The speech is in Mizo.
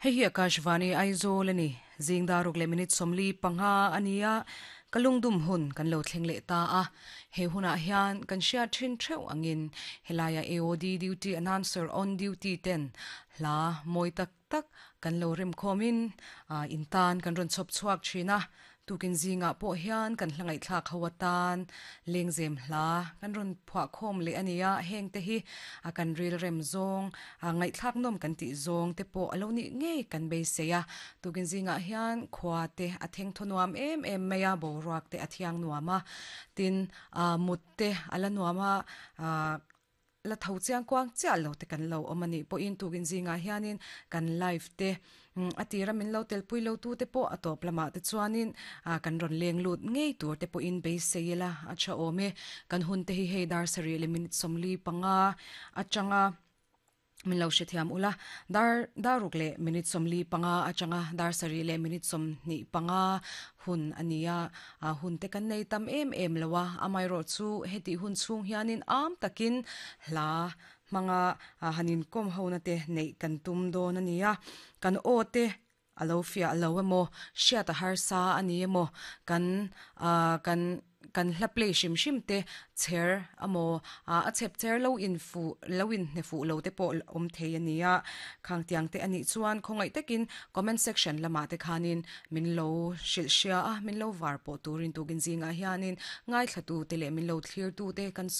Hei hi Akashvani Aizawl a ni. Zing dar ruk leh minute 45 a ni a, ka lungdum hun kan lo thleng leh ta a. He hunah hian kan hriat thin theuh angin helaia AOD duty announcer on duty ten hla mawi tak tak kan lo rem khawmin in tan kan rawn chhawp chhuak thin a. Tukin zingah pawh hian kan hla ngaihthlak ho atan lengzem hla kan rawn phuah khawm leh a ni a, heng te hi a kan ril rem zawng, a ngaihthlak nawm kan tih zawng te pawh a lo nih ngei kan beisei a. Tukin zingah hian khua te a theng thaw nuam em em mai a, boruak te a thiang nuam a, tin mut te a la nuam a, La tho chiang kuang chiah lo te kan lo awm a nih pawhin tukin zingah hianin kan live te a tira min lo telpui lo tu te pawh a tawp lamah te chuanin kan rawn leng lut ngei tur te pawhin beisei ila a tha awm e. Kan hun te hi hei dar sarih leh minute 45 atanga min lo hrethiam ula, dar dar ruk leh minute 45 atanga dar sarih leh minute 25 hun a ni a, hun te kan nei tam em em lo a, amaherawh chu hetih hun chhung hianin am takin hla hmanga han inkawm hona te neih kan tum dawn a ni a, kan aw te a lo fiah lo emaw, hriat a harsa a ni emaw, kan kan kan hla play hrim hrim te chher emaw a chhep chher lo in fuh lo in hne fuh lo te pawh awm thei a ni a, khang tiang te a nih chuan khawngaih takin comment section lamah te khanin min lo hrilh hria a, min lo var pawh turin tukin zingah hianin ngaithla tu te leh min lo thlir tu te kan sawi.